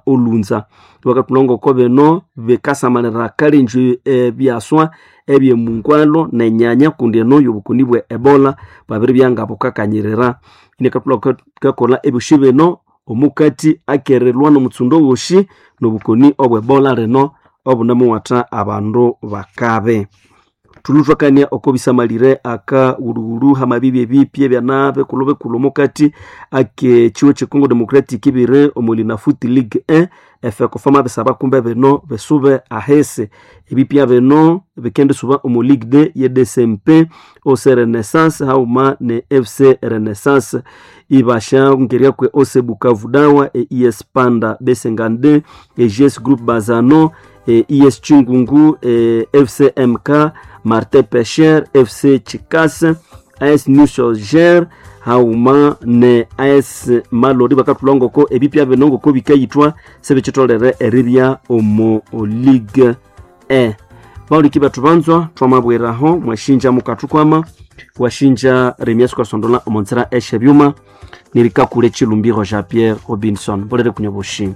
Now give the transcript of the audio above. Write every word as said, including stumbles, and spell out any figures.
Olunza. Bakatulonga bino bikasamalira kalenjo ebyaswa ebyemungwalo nenyanya kundi eno yobukoni bwe Ebola bwabiribya nga bukakanyirira. Inekatulwa kakola ebyosi bino omukati akerilwa nomutsundo wosi nobukoni obwe Ebola lino obunemuwatha abandu bakabi. Thulhuthwakania oko bisamalire akaghulhughulhu hamabibi ebipya ebyana bikulhu bikulhu omukati ake kyiwe kye Congo Democratic ibiri omo Linafoot League E efekofa mabisaba kumbe bino bisube ahisi. Ebipya bino bikendisuba omo Ligue D ye D C M P O C Renaissance haghuma ne F C Renaissance ibasha kwe O C Bukavu Dawa, E S Panda B cinquante-deux, E G S Group Bazano, E S Chingungu, F C M K, Martin Pesher, F C Chikase, A S New Soldier haghuma ne A S Malori. Bakathulha ngoko ebipya bino ngoko bikayithwa sibikitholere eribya omo Ligue E. Bawuliki bethu banzwa, twamabwiraho mwashinja mukathukwama washinja Remias Kasondola omo nzira esyebyuma nerikakule Chilumbiro Jean Pierre Robinson. Bolere kunya boshi.